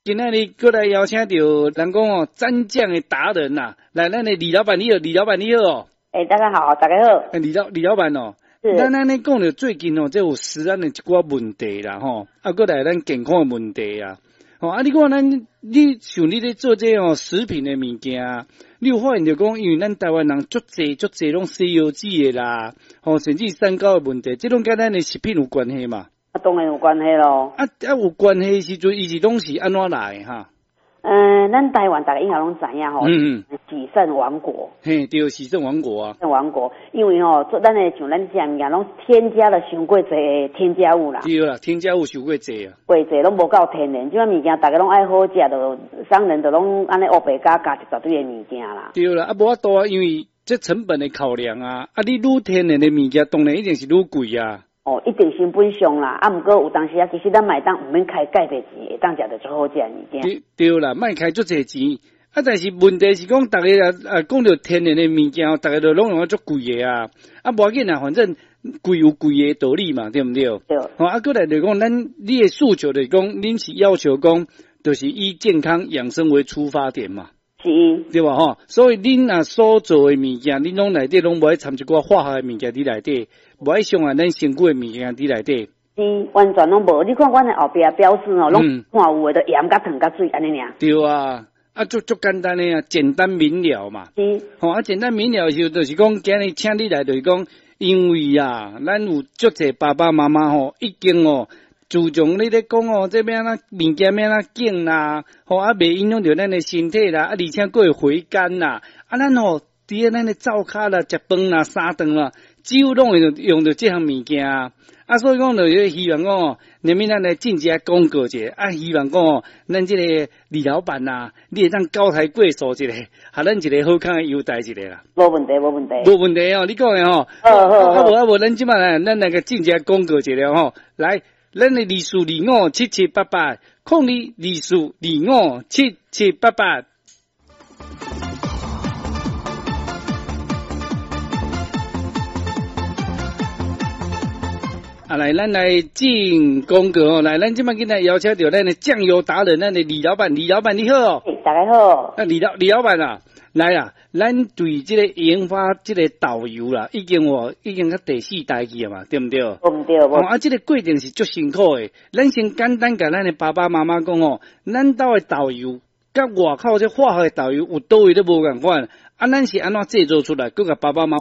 今仔日閣來邀請著人講哦，蘸醬的達人呐，來，咱的李老闆你好，李老闆你好哦。欸，大家好，大家好。欸，李老闆哦，咱按呢講著最近哦，這有食安的一寡問題啦，吼，啊，閣來咱健康的問題啊，吼，啊，你看咱，你像你咧做這哦食品的物件，你有發現著講，因為咱台灣人足濟足濟攏西藥子的啦，吼，甚至三高的問題，這攏佮咱的食品有關係嘛？啊，當然有關係咯。啊啊，有關係的時陣，伊是攏是按怎來的哈？嗯，咱台灣逐家應該攏知影吼。洗腎王國。嘿，對，洗腎王國啊。腎王國，因為吼，做咱的像咱這物件，攏添加了傷過濟的添加物啦。對啦，添加物傷過濟啊。過濟攏無夠天然，這款物件逐家攏愛好食，就商人就攏按呢烏白加加一大堆的物件啦。對啦，啊無法度啊，因為這成本的考量啊，啊你愈天然的物件，當然一定是愈貴啊。哦，一定成本上啦，啊，毋過有當時啊，其實咱嘛會當毋免開蓋濟錢，會當食著足好食的物件。對對啦，莫開足濟錢，啊，但是問題是講，逐家啊啊講著天然的物件，逐家都攏用啊足貴的啊，啊，無要緊啦，反正貴有貴的道理嘛，對毋對？對。吼，啊，閣來就是講，咱你的訴求就是講，恁是要求講，就是以健康養生為出發點嘛。是。對吧？吼，所以恁若所做的物件，恁攏內底攏無愛摻一寡化學的物件佇內底，無愛傷害咱身軀的物件佇內底。是，完全攏無。你看阮的後壁標示吼，攏看有的，就鹽佮糖佮水按呢爾。對啊，啊，足足簡單的啊，簡單明了嘛。是。吼，啊，簡單明了的時候，就是講今日請你來，就是講，因為啊，咱有足濟爸爸媽媽吼，已經哦。自從你咧講哦，這欲按怎物件欲按怎揀啦，吼啊，袂影響著咱的身體啦，啊，而且閣會回甘啦，啊，咱吼佇咧咱的灶跤啦、食飯啦、三頓啦，幾乎攏會用著這項物件啊，所以講就是希望講哦，連面咱來進一下廣告一下，啊，希望講哦，咱這個李老闆啊，你會當高抬貴手一下，予咱一個好康的優待一下啦。無問題，無問題。無問題哦，你講的吼。好好好。啊無啊無，咱這擺來，咱來個進一下廣告一下吼，來。咱的24257788，0224257788。啊，來，咱來進廣告哦。來，咱這擺今日邀請著咱的醬油達人，咱的李老闆，李老闆你好。欸，大家好。啊，李老闆啊，來啊，咱對這個研發這個豆油啦，已經哦，已經到第四代去了嘛，對毋對？毋對，無。哦，啊，這個過程是足辛苦的。咱先簡單共咱的爸爸媽媽講哦，咱兜的豆油佮外口這化學的豆油有佗位咧無仝款，啊，咱是按怎製作出來？閣共爸爸媽媽。